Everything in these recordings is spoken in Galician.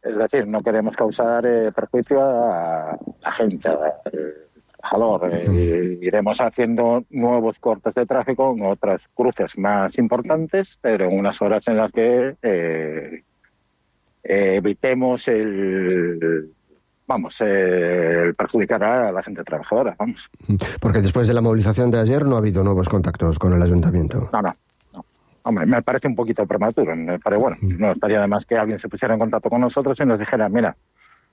Es decir, no queremos causar perjuicio a la gente, al trabajador. Iremos haciendo nuevos cortes de tráfico en otras cruces más importantes, pero en unas horas en las que evitemos el perjudicar a la gente trabajadora, vamos. Porque después de la movilización de ayer no ha habido nuevos contactos con el ayuntamiento. No. Hombre, me parece un poquito prematuro, pero bueno, no estaría de más que alguien se pusiera en contacto con nosotros y nos dijera, mira,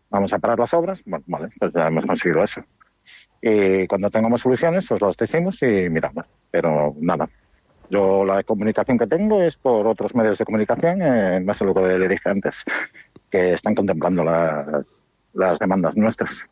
vamos a parar las obras. Bueno, vale, pues ya hemos conseguido eso. Y cuando tengamos soluciones, os las decimos y miramos. Pero nada, yo la comunicación que tengo es por otros medios de comunicación, más de lo que le dije antes, que están contemplando las demandas nuestras.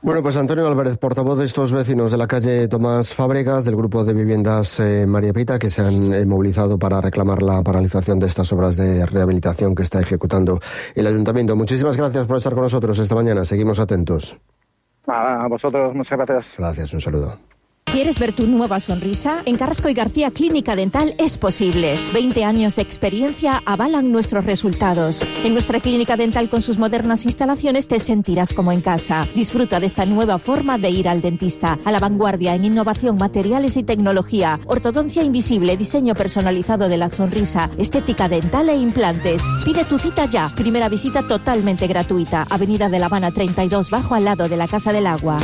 Bueno, pues Antonio Álvarez, portavoz de estos vecinos de la calle Tomás Fábregas, del grupo de viviendas María Pita, que se han movilizado para reclamar la paralización de estas obras de rehabilitación que está ejecutando el ayuntamiento. Muchísimas gracias por estar con nosotros esta mañana. Seguimos atentos. A vosotros, muchas gracias. Gracias, un saludo. ¿Quieres ver tu nueva sonrisa? En Carrasco y García Clínica Dental es posible. 20 años de experiencia avalan nuestros resultados. En nuestra clínica dental con sus modernas instalaciones te sentirás como en casa. Disfruta de esta nueva forma de ir al dentista. A la vanguardia en innovación, materiales y tecnología. Ortodoncia invisible, diseño personalizado de la sonrisa, estética dental e implantes. Pide tu cita ya. Primera visita totalmente gratuita. Avenida de La Habana 32, bajo al lado de la Casa del Agua.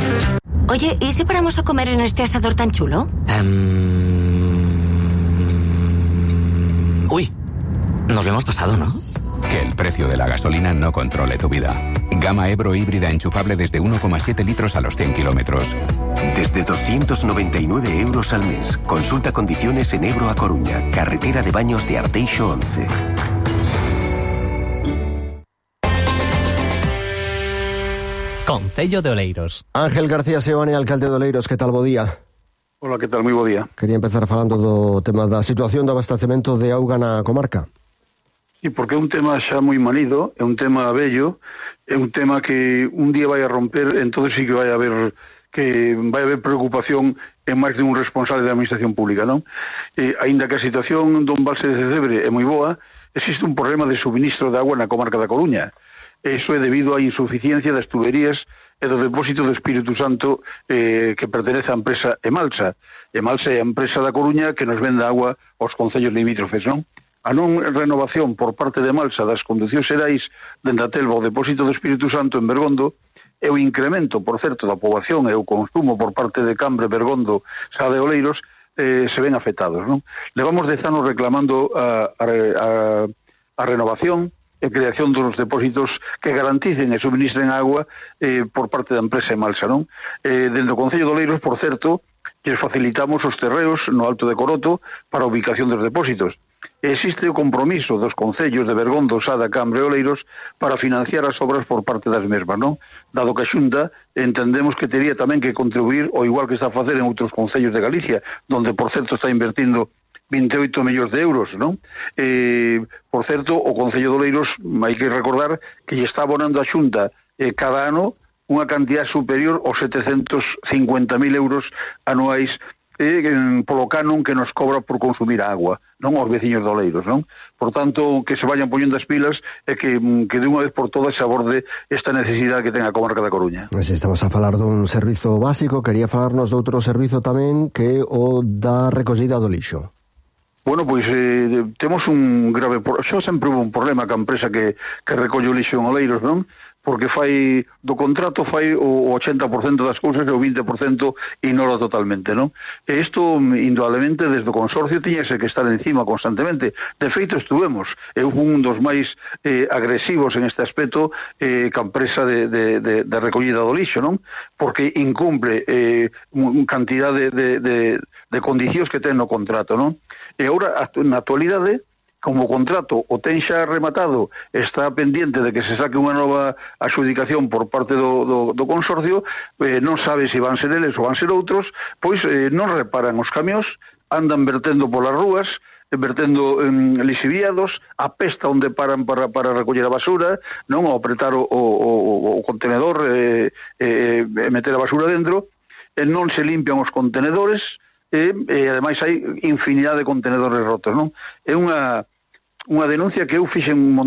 Oye, ¿y si paramos a comer en este asador tan chulo? Uy, nos lo hemos pasado, ¿no? Que el precio de la gasolina no controle tu vida. Gama Ebro híbrida enchufable desde 1,7 litros a los 100 kilómetros. Desde 299 euros al mes. Consulta condiciones en Ebro a Coruña, carretera de Baños de Arteixo 11. Concello de Oleiros. Ángel García Seoane, alcalde de Oleiros, que tal, bo día? Hola, que tal, moi bo día. Quería empezar falando do tema da situación do abastecemento de auga na comarca. Sí, porque é un tema xa moi manido, é un tema bello, é un tema que un día vai a romper, entonces sí que vai a haber preocupación en máis de un responsable da administración pública, non? Aínda que a situación do embalse de Cebre é moi boa, existe un problema de suministro de agua na comarca da Coruña. Eso é debido á insuficiencia das tuberías e do depósito do Espírito Santo que pertenece á empresa Emalsa. Emalsa é a empresa da Coruña que nos vende agua aos concellos limítrofes, non? A non renovación por parte de Emalsa das conducións xerais dende a Telva ao depósito do Espírito Santo en Bergondo e o incremento, por certo, da poboación e o consumo por parte de Cambre, Bergondo, Sá de Oleiros se ven afectados, non? Levamos 10 anos reclamando a renovación e creación dos depósitos que garanticen e subministren agua por parte da empresa Emalsa, non? Dende o Concello de Oleiros, por certo, que facilitamos os terreos no Alto de Coroto para a ubicación dos depósitos. Existe o compromiso dos concellos de Bergondo, Sada, Cambre e Oleiros para financiar as obras por parte das mesmas, non? Dado que a Xunta entendemos que tería tamén que contribuir, o igual que está a facer en outros concellos de Galicia, donde, por certo, está invertindo 28 millóns de euros, non? Por certo, o Concello de Oleiros, hai que recordar que lle está abonando a Xunta cada ano unha cantidad superior aos 750.000 euros anuais polo canon que nos cobra por consumir agua, non aos veciños de Oleiros, non? Por tanto, que se vayan poñendo as pilas e que de unha vez por todas se aborde esta necesidade que ten a comarca da Coruña. Se estamos a falar dun servizo básico, quería falarnos de outro servizo tamén que o da recollida do lixo. Bueno, pois temos un grave... Xa sempre hubo un problema ca empresa que recolle o lixo en Oleiros, non? Porque do contrato fai o 80% das cousas e o 20% ignora totalmente, non? E isto, indudablemente, desde o consorcio tiñase que estar encima constantemente. De feito, estuvemos. Eu fui un dos máis agresivos en este aspecto ca empresa de recollida do lixo, non? Porque incumple cantidad de condicións que ten no contrato, non? E agora, na actualidade, como o contrato o ten xa rematado, está pendiente de que se saque unha nova adxudicación por parte do consorcio, non sabe se van ser eles ou van ser outros, pois non reparan os camións, andan vertendo polas rúas, vertendo lixiviados, a pesta onde paran para recoller a basura, non ao apretar o contenedor e meter a basura dentro, non se limpian os contenedores, e ademais hai infinidade de contenedores rotos, non? É unha denuncia que eu fixen un montón